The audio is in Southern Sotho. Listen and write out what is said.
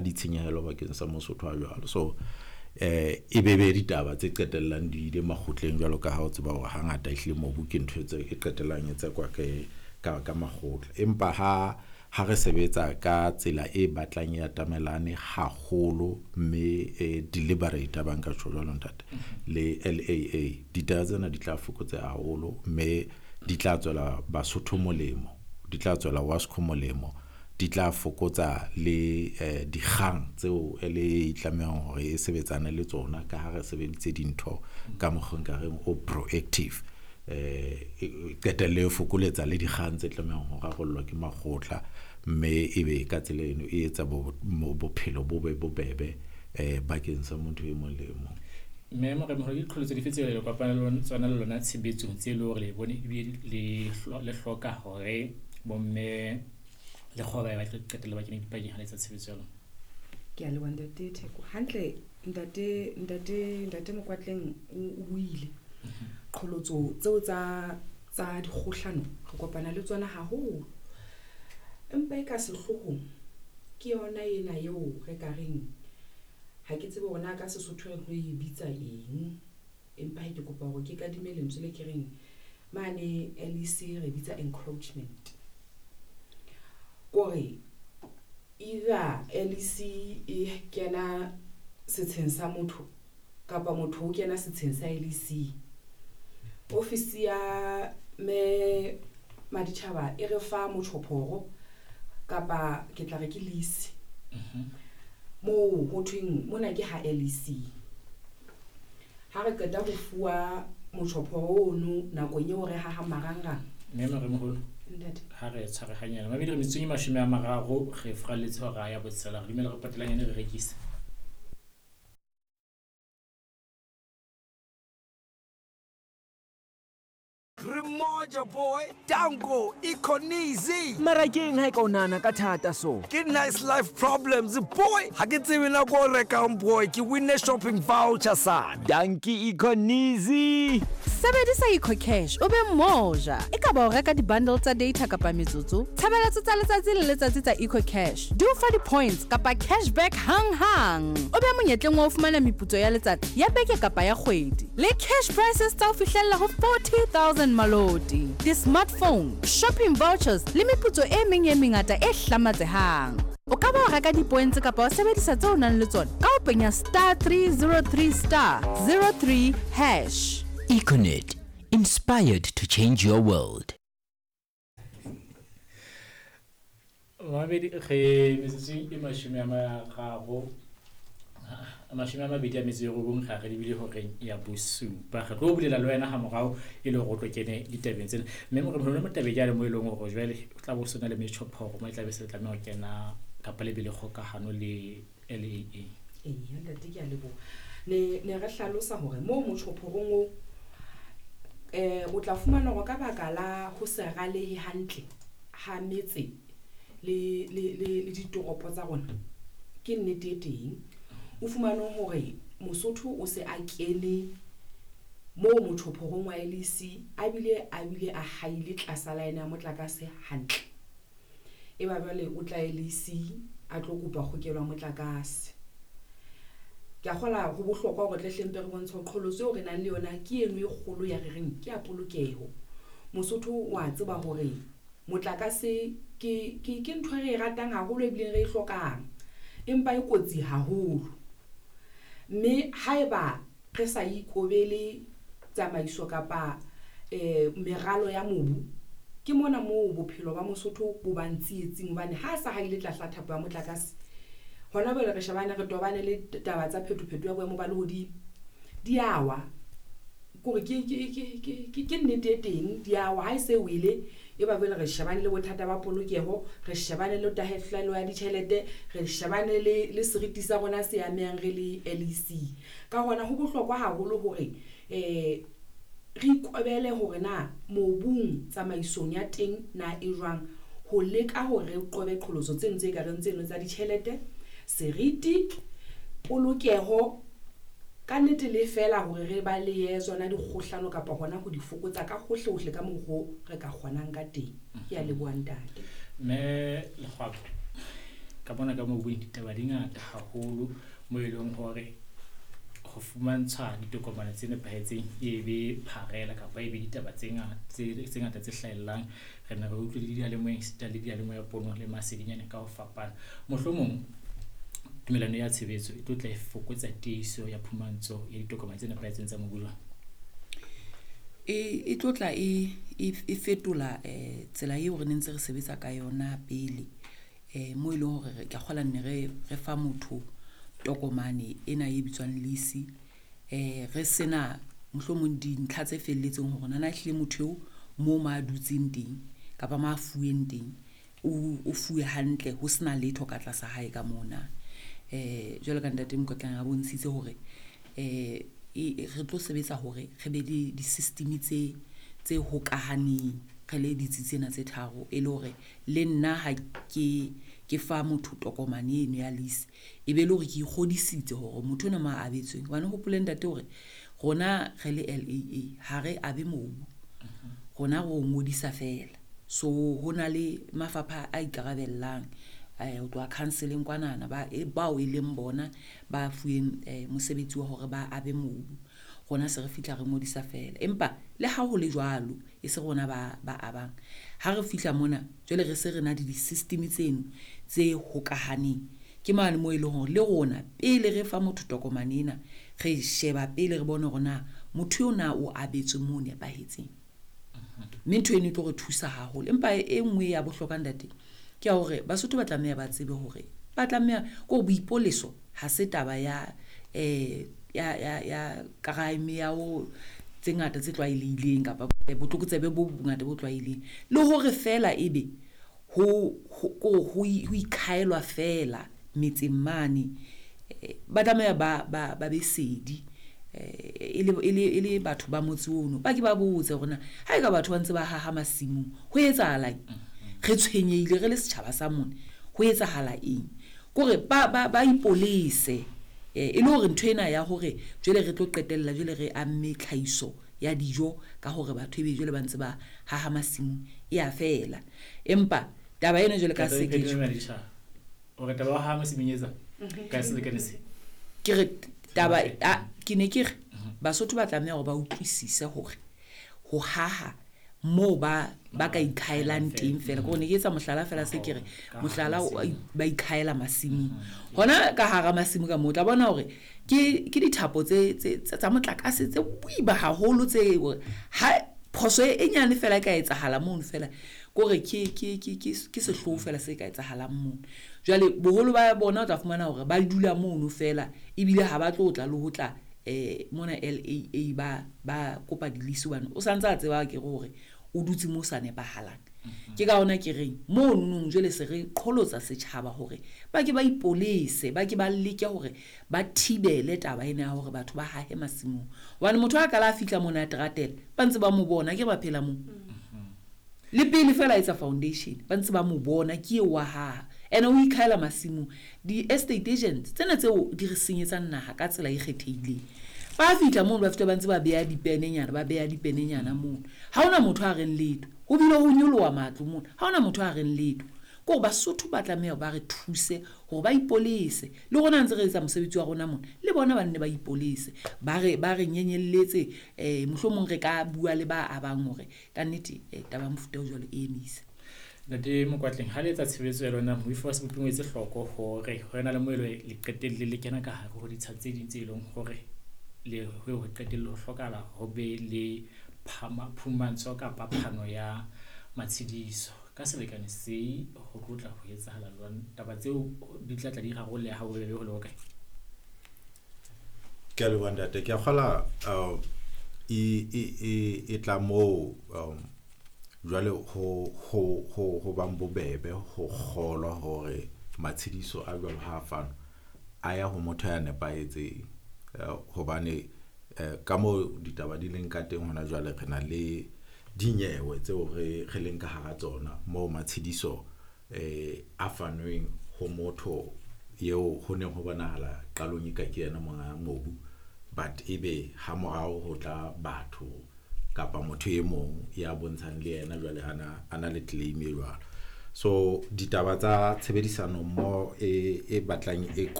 Ditshenyehelo bakeng sa Mosotho a jwalo. So e be be ditaba tse qetellang di ile makgotleng, jwalo ka ha o tseba hore hangata ehlile mobu ke ntho tse e qetellang e tsekwa ke ka makgotla. Empa ha re sebetsa ka tsela e batlang e atamelane haholo, mme e deliberate, ba nka tjho jwalo, ntate, le LAA, ditaba tsena di tla fokotseha haholo, mme di tla tswela Basotho molemo, di tla tswela WASCO molemo, di tla fokotsa le dikgang tseo LAA e tlamehang hore e sebetsane le tsona, ka ha re sebeditse dintho ka mokgwa nka reng o proactive. Qetelle e fokoletsa le dikgang tse tlamehang ho rarollwa ke makgotla, mme ebe ka tsela eno e etsa bophelo bo be bobebe bakeng sa motho e mong le e mong. Mme Moremogolo, ke diqholotso dife tseo le kopana le tsona le lona tshebetsong, tse e le hore le bone ebile le hloka hore bomme le kgoba ba tlo qetella ba kene dipakeng ha le etsa tshebetso ya lona? Ke a leboha, ntate Theko. Hantle, ntate Mokwatleng o buile. Qholotso tseo tsa dikgohlano re kopana le tsona haholo, empa e ka sehloohong ke yona ena eo re ka reng, ha ke tsebe hore na ka Sesotho re tlo e bitsa eng, empa he ke kopa hore ke kadime lentswe le ke reng mane LEC re bitsa encroachment. Kore either LEC e kena setsheng sa motho kapa motho o kena setsheng sa LEC. Ofisi ya me Maditjhaba e re fa motjhophoro, kapa ke tla re ke lease, moo ho thweng mona ke ha LEC. Ha re qeta ho fuwa motjhophoro ono nakong eo re hahang marangrang. Mme Moremogolo, Ntate. Ha re tshwarehanyana mabedi, re metsotsong e 30, re furalletse hora ya botshelela. Re dumela re potelanyane, re rekise. Re moja boy, Danko Econeasy. Mara ke eng ha e ka o nahana ka thata so? Ke nice life problems boy. Ha ke tsebe nako o rekang boy, ke winne shopping voucher sana. Danki Econeasy. Sebedisa EcoCash o be moja. E ka ba o reka di-bundle tsa data kapa metsotso, tshebeletso tsa letsatsi le letsatsi tsa EcoCash di o fa di-points kapa cashback hang-hang. O be monyetleng wa ho fumana meputso ya letsatsi, ya beke kapa ya kgwedi, le cash prizes tsa ho fihlella ho 40 000 maloti, di-smartphone, shopping vouchers le meputso e meng e mengata e hlamatsehang. O ka ba wa reka di-points kapa wa sebedisa tseo o nang le tsona ka ho penya *303*03#. Econet, inspired to change your world. Mabedi re metsotsong e 30, 29, ga re lebile horeng ya bosupa. Re tlo bulela le wena ha morao e le hore o tlo kene ditabeng tsena. Mme Moremogolo, mo tabeng jale mo e leng hore jwale o tla bo sona le metjhophoro mo e tla be se tlameha ho kena kapa le be le kgokahano le LAA. Eya ntate, ke a leboha. Ne re hlalosa hore moo motjhophorong o o tla fumana hore ka baka la ho se ralehe hantle ha metse le ditoropo tsa rona, ke nnete e teng. O fumane hore Mosotho o se a kene moo motjhophorong wa LEC, a bile a haile tlasa line ya motlakase hantle. E ba jwale o tla LEC a tlo kopa kgokelo ya motlakase. Ke a kgola ho bohlokwa hore tle hlempe re bontshe hore qholotso eo re nang le yona ke eno e kgolo ya re reng ke ya polokeho. Mosotho wa tseba hore motlakase ke ntho e re e ratang haholo ebileng re e hlokang, empa e kotsi haholo. Mme haeba re sa ikobele tsamaiso kapa meralo ya mobu, ke mona moo bophelo ba Mosotho bo bang tsietsing, hobane ha a sa haile tlasa thapo ya motlakase. Hona jwale re shebane, re tobane le taba tsa phetopheto ya boemo ba lehodimo. Di a wa, kore ke nnete e teng, di a wa. Ha e se wele, e ba jwale re shebane le bothata ba polokeho, re shebane le tahlehelo ya ditjhelete, re shebane le seriti sa rona se amehang re le LEC. Ka hona ho bohlokwa haholo hore re ikobele hore na mobung tsamaisong ya teng na e jwang, ho leka hore re qobe qholotso tseno tse kareng tseno tsa ditjhelete, seriti, polokeho, ka nnete le feela hore re balehe tsona dikgohlano kapa hona ho di fokotsa ka hohle hohle ka mokgo re ka kgonang ka teng. Ke a leboha, ntate. Mme Lekgwaba. Ka bona ka mobung ditaba di ngata haholo mo e leng hore ho fumantshwa ditokomane tse nepahetseng e be pharela kapa e be ditaba tse ngata tse hlahellang. Re ne re utlwe le diyalemoyeng esita le diyalemoya pono le masedinyane ka ho fapana. Mohlomong tumellano ya tshebetso e tlo tla e fokotsa tiiso ya phumantsho ya ditokomane tse nepahetseng tsa mobu jwang? E tlo tla e fetola tsela eo re ne ntse re sebetsa ka yona pele, mo e leng hore ke a kgola nne re fa motho tokomane ena e bitswang lease, re sena mohlomong dintlha tse felletseng hore nana ehlile motho eo moo ma dutseng teng kapa ma fuweng teng o fuwe hantle ho sena letho ka tlasa hae ka mona. Jwalo ka ntate Mokotlang a bontshitse hore re tlo sebetsa hore re be le di-system tse hokahaneng re le ditsi tsena tse tharo, e le hore le nna ha ke fa motho tokomane eno ya lease e be le hore ke ikgodisitse hore motho ena ma abetsweng. Hobane hopole ntate hore rona re le LAA ha re abe mobu, rona re o ngodisa fela. So ho na le mafapha a ikarabellang ho tloha council-eng kwanana bao e leng bona ba fuweng mosebetsi wa hore ba abe mobu. Rona se re fihla re ngodisa fela, empa le ha ho le jwalo e se rona ba abang. Ha re fihla mona jwale re se re na le di-system tseno tse hokahaneng, ke mane moo e leng hore le rona pele re fa motho tokomane ena re sheba pele re bone hore na motho eo na o abetswe moo nepahetseng, mme ntho eno e tlo re thusa haholo. Empa e nngwe ya bohlokwa ntate ke ya hore Basotho ba tlameha ba tsebe hore ba tlameha ko boipoleso ha se taba ya ya crime ya ho tse ngata tse tlwaelehileng kapa botlokotsebe bo bongata bo tlwaelehileng, le hore fela ebe ho ikhaelwa fela metseng mane. Ba tlameha ba be sedi e le batho ba motse ono, ba ke ba botse hore na ha eka batho ba ntse ba haha masimong ho etsahalang, re tshwenyehile re le setjhaba sa mona, ho etsahala eng, kore ba ipolese e le hore ntho ena ya hore jwale re tlo qetella jwale re amme tlhahiso ya dijo ka hore batho ebe jwale ba ntse ba haha masimong e a fela. Empa taba ena jwale ka se ke hore taba ha masimong etsa ka selekane se ke re taba ke ne ke re Basotho ba tlameha hore ba utlwisise hore ho haha moo ba ka ikhaelang teng fela. Ke ne ke etsa mohlala fela, se ke re mohlala ba ikhaela masimong hona ka hara masimo ka moo tla bona hore ke dithapo tse tsa motlakase tse boima haholo tse ha phoso e nyane fela e ka etsahala mono fela, kore ke sehloho fela se ka etsahalang mono. Jwale boholo ba bona o tla fumana hore ba dula mono fela ebile ha ba tlo tla le ho tla mona LAA ba kopa di-lease hobane o santse a tseba ke hore o dutse mo sa nepahalang. Ke ka hona ke reng mono jwale se re qholotsa setjhaba hore ba ke ba ipolese, ba ke ba leke hore ba thibele taba ena ya hore batho ba hahe masimong. Hobane motho a kala a fihla mona a teratela ba ntse ba mo bona ke ba phela moo, le pele fela etsa foundation ba ntse ba mo bona ke eo wa haha, ene o ikhaela masimong. Di-estate agents tsena tseo di re senyetsang naha ka tsela e kgethehileng, ba fihla mono ba fihla ba ntse ba beha dipenenyana, ba beha dipenenyana mono, ha hona motho a reng letho, ho bile ho nyoloha matlo mono, ha hona motho a reng letho. Ke hore Basotho ba tlameha ba re thuse hore ba ipolese, le rona ntse re etsa mosebetsi wa rona mona le bona ba nne ba ipolese, ba re nyenyelletse mohlomong re ka bua le ba abang hore ka nnete taba ya mofuta o jwalo e emise. Ntate Mokwatleng, ha le etsa tshebetso ya lona moifo wa seboping o etse hloko hore ho ena le moelo le qetelle le kena ka hare ho ditsha tse ding tse leng hore le ho qetelle ho hlokahala ho be le phumantsho kapa phano ya matshediso ka selekane se ho tlotla ho etsahala jwang. Taba tseo di tla tla di rarolleha ha bobebe ho le hokae? Ke a leboha ntate. Ke a kgola e tla moo jwale ho bang bobebe ho kgolwa hore matshediso a jwalo ha a fanwa a ya ho motho ya nepahetseng, hobane ka moo ditaba di leng ka teng hona jwale re na le dinyewe tseo re leng ka hara tsona moo matshediso a fanweng ho motho eo ho neng ho bonahala qalong e ka ke yena monga mobu, but ebe ha morao ho tla batho kapa motho e mong ya bontshang le yena jwale ana le claim e jwalo. So ditaba tsa tshebedisano mmoho e batlang e.